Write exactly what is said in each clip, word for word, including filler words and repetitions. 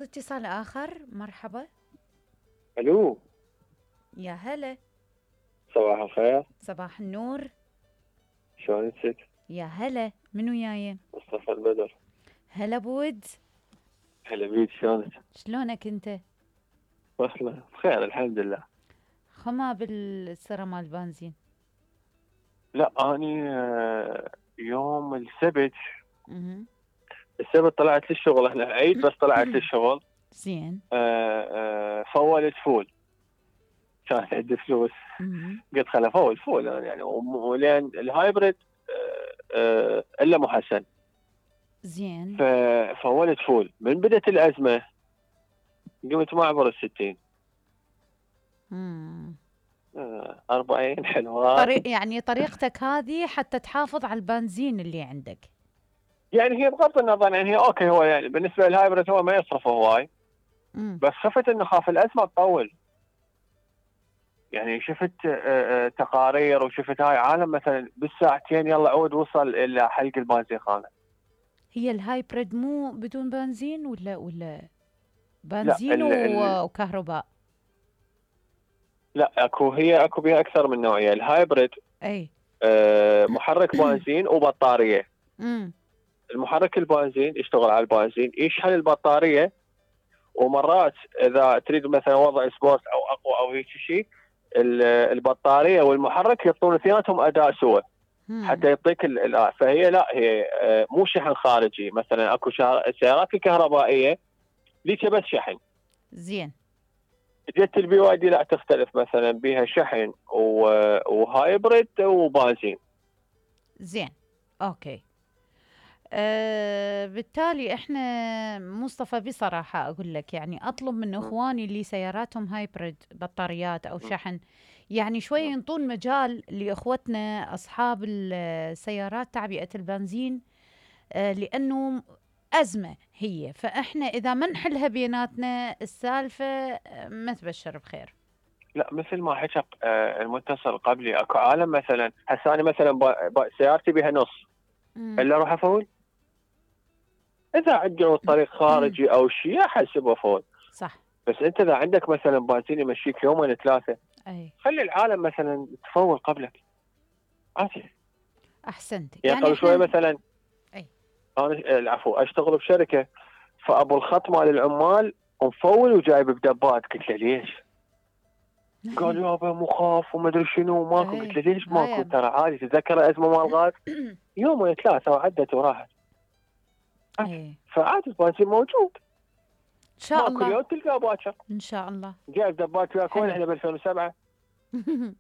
اتصال آخر. مرحبا. الو. يا هلا. صباح الخير. صباح النور. شلونك؟ يا هلا، من وياي؟ مصطفى البدر. هلا بود. هلا بيك، شلونك؟ شلونك انت؟ والله بخير الحمد لله. خما بالسرة مال البنزين. لا اني آه، يوم السبت اها. السبت طلعت للشغل، احنا عيد بس طلعت للشغل. زين. آه، آه، فولت فول، كان عندي فلوس. اها. قلت خل افول فول يعني، ولين الهايبريد آه، آه، الا محسن. زين. ففولت فول من بدت الازمه، قمت ما اعبر الستين. امم آه، أربعين حلوات. طريق يعني طريقتك هذه حتى تحافظ على البنزين اللي عندك. يعني هي بغض النظر، يعني هي اوكي، هو يعني بالنسبه للهايبرد هو ما يصرف هواي، امم بس خفت انه خاف الازمه تطول. يعني شفت آه، آه، تقارير، وشفت هاي عالم مثلا بالساعتين يلا عود وصل الى حلق البنزين خانه. هي الهايبريد مو بدون بنزين ولا ولا لا بنزين ال ال و- وكهرباء؟ لا اكو، هي اكو بها اكثر من نوعيه. الهايبرد اي. آه، محرك بنزين وبطاريه. امم المحرك البنزين يشتغل على البنزين، يشحن البطاريه، ومرات اذا تريد مثلا وضع سبورت او اقوى او هيك شيء، البطاريه والمحرك يعطون اثنيناتهم اداء سوى حتى يعطيك الاداء. فهي لا، هي مو شحن خارجي. مثلا اكو السيارات الكهربائيه ليش بس شحن. زين. جت البي واي دي لا تختلف، مثلا بها شحن وهايبريد وبنزين. زين. اوكي. أه بالتالي احنا مصطفى بصراحة اقول لك، يعني اطلب من اخواني اللي سياراتهم هايبريد بطاريات او شحن، يعني شوي ينطون مجال لاخوتنا اصحاب السيارات تعبئة البنزين. أه لانه ازمة هي، فاحنا اذا ما نحلها بيناتنا السالفة آه، ما تبشر بخير. لا مثل ما حكى آه، المتصل قبلي، اكو عالم مثلا هسه انا مثلا ب- ب- سيارتي بها نص، مم. الا اروح افول. اذا عندنا طريق خارجي او شيء احسب افول. صح. بس انت اذا عندك مثلا بنزين يمشيك يومين ثلاثه، اي. خلي العالم مثلا تفول قبلك عادي. احسنت، يعني يعني قبل شوي احنا. مثلا اي. انا العفو اشتغل بشركه، فابو الخط مال العمال مفول وجايب بدبات. قلت له ليش؟ قال يابا مخاف وما ادري شنو ماكو. قلت اي. له ليش ماكو؟ هاي. ترى عادي، تتذكر الازمه مال الغاز يومين ثلاثه وعدت وراحت. اي. فعادي البنزين موجود، ان شاء ماكو الله. اليوم تلقاه باكر. ان شاء الله. جايب دبات وياك وين؟ حلو. احنا ب ألفين وسبعة. والله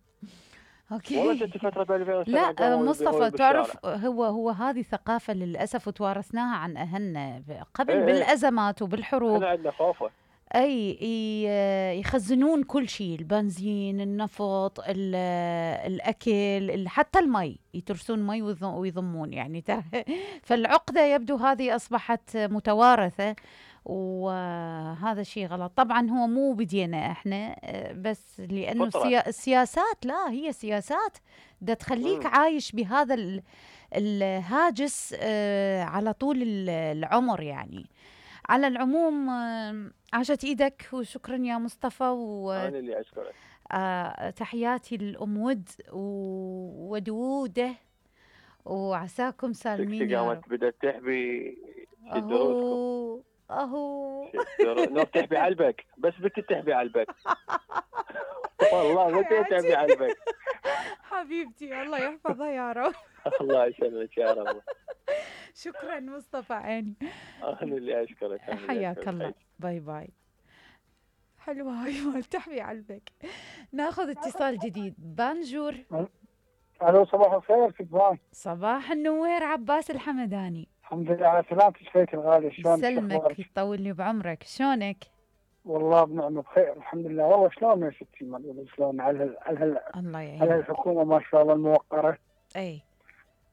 اوكي. جت فتره ب ألفين لا وسبعة آه، قاموا يبيعون مصطفى بالشارع. تعرف، هو هو هذه ثقافة للأسف وتوارثناها عن أهلنا ب- قبل ايه ايه، بالأزمات وبالحروب. احنا عندنا خوفه. أي ي- يخزنون كل شيء، البنزين، النفط، ال- الأكل، ال- حتى المي، يترسون مي ويض- ويضمون يعني ترى. فالعقدة يبدو هذه أصبحت متوارثة، وهذا شيء غلط. طبعا هو مو بدينا احنا، آه، بس لأنه فطره. السيا- السياسات، لا هي سياسات دا تخليك مم. عايش بهذا ال- الهاجس آه، على طول ال- العمر يعني. على العموم آه، عاشت ايدك وشكرا يا مصطفى، انا اللي اشكرك. وتحياتي للأم ود وودوده، وعساكم سالمين تكتي يا رب. قامت بدات تحبي. شد روسكم. اهو. اهو. شد رو... نوب تحبي علبك، بس بنتي تحبي علبك. والله بنتي تحبي حياتي. علبك. حبيبتي الله يحفظها يا رب. الله يسلمك يا رب. شكرا مصطفى عيني. انا اللي اشكرك، انا اللي حياك اشكرك الله. خير. باي باي. حلوة هاي مال تحبي علبك. ناخذ اتصال جديد. بانجور. الو صباح الخير، كيف حالك؟ صباح النوير، عباس الحمداني. الحمد لله على سلامتك شفيك الغالي، شلونك؟ شو يسلمك اخبارك؟ يطول لي بعمرك، شلونك؟ والله بنعمة بخير الحمد لله. والله شلون يا ستي؟ ما نقول شلون على هال على هال الله على يعينك. هالحكومة ما شاء الله الموقرة. اي.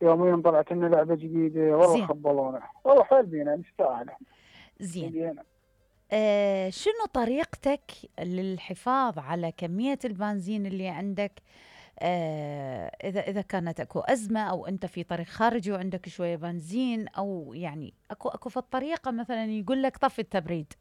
يوميا طلعت لنا لعبة جديدة، والله زين. خبلونا، والله حيل بينا نستاهل. زين. بينا. آه شنو طريقتك للحفاظ على كمية البنزين اللي عندك؟ آه إذا إذا كانت أكو أزمة، أو أنت في طريق خارجي وعندك شوية بنزين، أو يعني أكو أكو في الطريقة مثلا يقول لك طفي التبريد،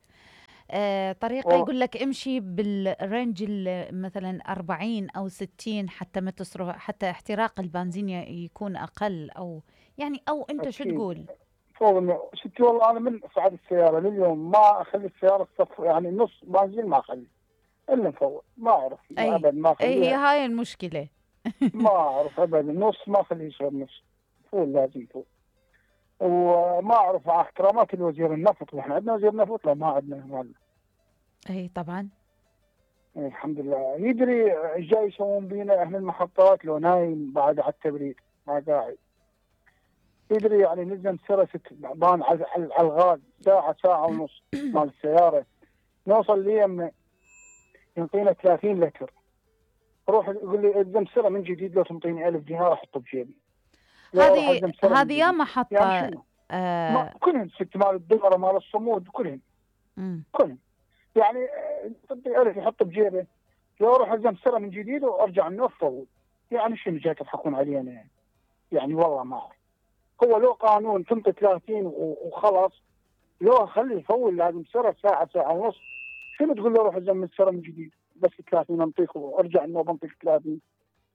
آه طريقة والله يقول لك امشي بالرينج ال- مثلا أربعين أو ستين حتى ما تصرف، حتى احتراق البنزين ي- يكون أقل، أو يعني أو أنت شو اكيد. تقول؟ فوق إنه ستي والله انا من صعد السياره لليوم ما اخلي السياره تصف، يعني نص بنزين ما اخلي الا مفوت، ما اعرف أي ابدا ما أي هي اخليها، هاي المشكلة. ما اعرف ابدا نص ما اخليه يصير نص، فول لازم فول. وما اعرف مع احترامات الوزير النفط، واحنا عندنا وزير نفط؟ لا ما عندنا مال. أي طبعا. إيه الحمد لله. يدري ايش جاي يسوون بينا اهل المحطات لو نايم بعد على التبريد ما قاعد. يدري يعني نلزم سرسة بان على على الغاز ساعة ساعة ونص مال السيارة، نوصل ليم ينطينا ثلاثين لتر، روح يقول لي الزم سرة من جديد، لو تنطيني ألف دينار احطه بجيبي. لا اروح هذه الزم سرة من هذه يا جديد. محطة. يعني شنو؟ ما آه كلهم ست مال الدمرة مال الصمود كلهم مم. كلهم يعني آه، تنطي ألف يحطه بجيبه، لو اروح الزم سرة من جديد وارجع النوفل. يعني شنو جاي تضحكون علينا يعني؟ يعني والله ما أعرف. هو لو قانون تنطي ثلاثين و- وخلاص، لو خلي يفول لازم سرة ساعة ساعة ونص. شنو تقول له روح الزم السرة من جديد بس ثلاثين انطيك وارجع النوب انطيك ثلاثين؟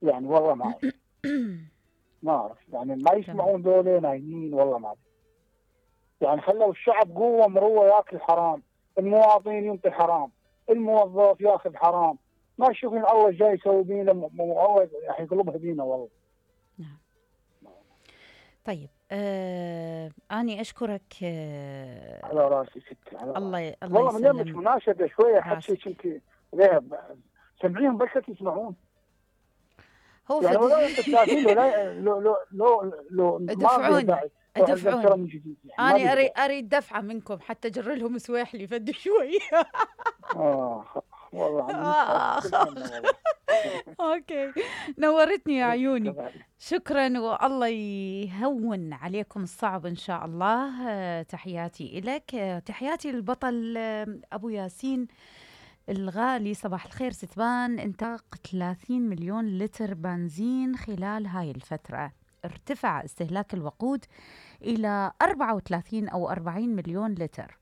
يعني والله ما اعرف ما اعرف يعني ما يسمعون ذولي نايمين والله ما اعرف. يعني خلوا الشعب قوة مروة ياكل حرام، المواطنين ينطي حرام، الموظف ياخذ حرام، ما يشوفون الله جاي يسوي بينا م- م- الله راح يقلبها بينا والله. طيب آه أني أشكرك. آه على راسي ست على راسي. الله ي- الله والله من يومك يسلم مناشدة شوية حد راسك. شيء كنت ذهب سمعيهم بس يسمعون. هو يعني فد... ولا انت ثلاثين ولا لو لو لو لو ما ادفعوني داعي روح الزم ادفعوني. من جديد يعني ما أنا بيقدر. أريد أريد دفعة منكم حتى أجر لهم سواحلي فد شوي. اه والله عم آه. نتحسن والله. أوكي، نورتني يا عيوني. شكرا، والله يهون عليكم الصعب إن شاء الله. آه، تحياتي إلك. آه، تحياتي للبطل آه، أبو ياسين الغالي. صباح الخير ستبان. انتاق ثلاثين مليون لتر بنزين خلال هاي الفترة، ارتفع استهلاك الوقود إلى أربعة وثلاثين أو أربعين مليون لتر،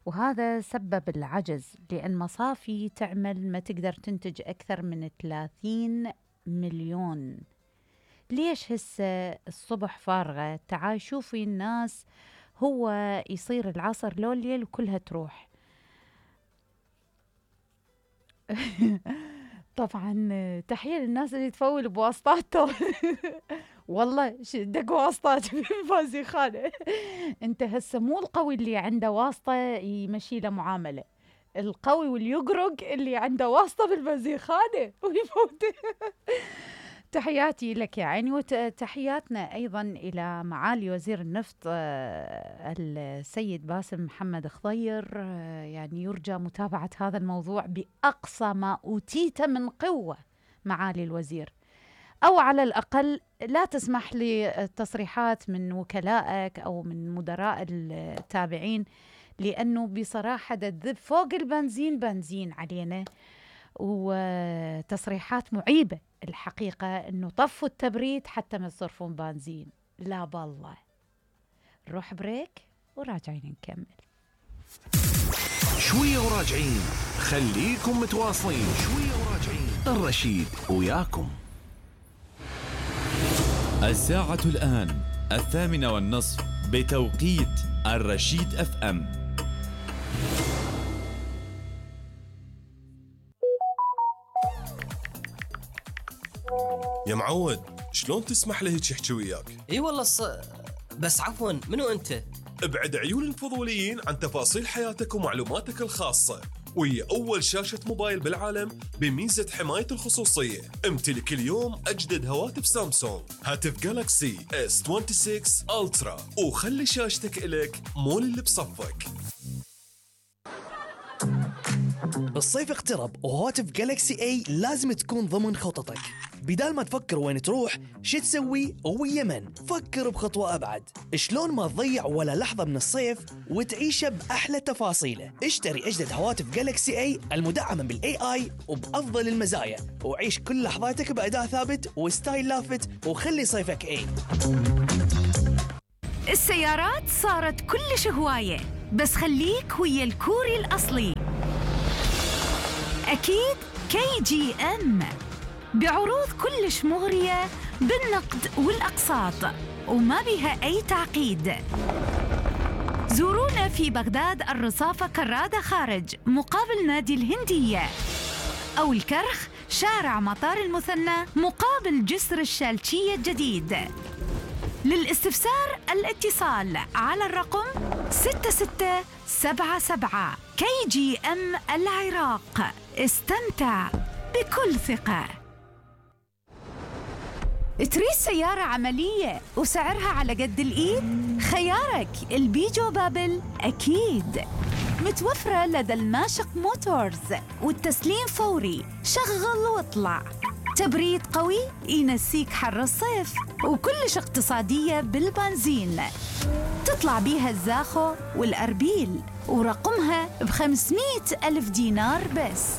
وهذا سبب العجز لأن مصافي تعمل ما تقدر تنتج أكثر من ثلاثين مليون. ليش هسه الصبح فارغة؟ تعال شوفي الناس، هو يصير العصر لو الليل وكلها تروح. طبعا تحية للناس اللي تفول بواسطاته. والله دق واسطات بالبازيخانة. انت هسه مو القوي اللي عنده واسطة يمشي له معاملة، القوي واللي يقرق اللي عنده واسطة بالبازيخانة ويفوت. تحياتي لك يا عيني، وتحياتنا أيضا إلى معالي وزير النفط آه، السيد باسم محمد خضير. آه، يعني يرجى متابعة هذا الموضوع بأقصى ما أوتيت من قوة معالي الوزير، أو على الأقل لا تسمح لتصريحات من وكلائك أو من مدراء التابعين، لأنه بصراحة تذب فوق البنزين بنزين علينا، وتصريحات معيبة الحقيقة، أنه طفوا التبريد حتى ما يصرفون بنزين. لا بالله. نروح بريك وراجعين نكمل. شوية وراجعين، خليكم متواصلين. شوية وراجعين، الرشيد وياكم. الساعة الآن الثامنة والنصف بتوقيت الرشيد اف ام. يا معود، شلون تسمح له هيك يحكي وياك؟ اي والله الص... بس عفوا منو انت؟ ابعد عيون الفضوليين عن تفاصيل حياتك ومعلوماتك الخاصة، وهي أول شاشة موبايل بالعالم بميزة حماية الخصوصية. امتلك اليوم أجدد هواتف سامسونج، هاتف جالكسي اس ستة وعشرين ألترا، وخلي شاشتك إلك مو اللي بصفك. الصيف اقترب وهواتف جالكسي اي لازم تكون ضمن خططك. بدال ما تفكر وين تروح شو تسوي ويمن، فكر بخطوة أبعد. شلون ما تضيع ولا لحظة من الصيف وتعيشه بأحلى تفاصيله. اشتري أجدد هواتف جالكسي اي المدعمة بالاي اي وبأفضل المزايا، وعيش كل لحظاتك بأداء ثابت وستايل لافت، وخلي صيفك اي. السيارات صارت كلش هواية، بس خليك ويا الكوري الأصلي. أكيد كي جي إم بعروض كلش مغرية بالنقد والأقساط وما بها أي تعقيد. زورونا في بغداد الرصافة كرادة خارج مقابل نادي الهندية، أو الكرخ شارع مطار المثنى مقابل جسر الشالشية الجديد. للاستفسار الاتصال على الرقم ستة ستة سبعة سبعة. كي جي إم العراق، استمتع بكل ثقة. تريد سيارة عملية وسعرها على قد الإيد؟ خيارك البيجو بابل أكيد. متوفرة لدى الماشق موتورز والتسليم فوري، شغل واطلع. تبريد قوي ينسيك حر الصيف، وكلش اقتصادية بالبنزين. تطلع بيها الزاخو والأربيل، ورقمها بخمسمائة ألف دينار بس،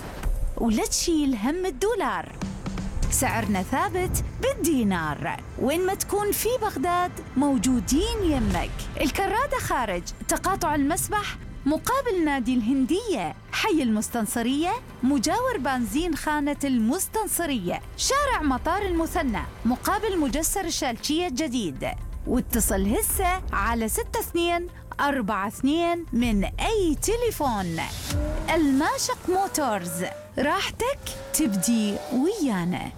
ولا تشيل هم الدولار. سعرنا ثابت بالدينار، وين ما تكون في بغداد موجودين يمك. الكرادة خارج تقاطع المسبح مقابل نادي الهندية، حي المستنصرية مجاور بنزين خانة المستنصرية، شارع مطار المثنى مقابل مجسر الشالشية الجديد. واتصل هسه على ستة اثنين أربعة اثنين من أي تليفون. الماشق موتورز، راحتك تبدي ويانا.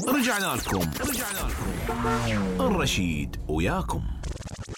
رجعنا لكم رجعنا لكم الرشيد وياكم.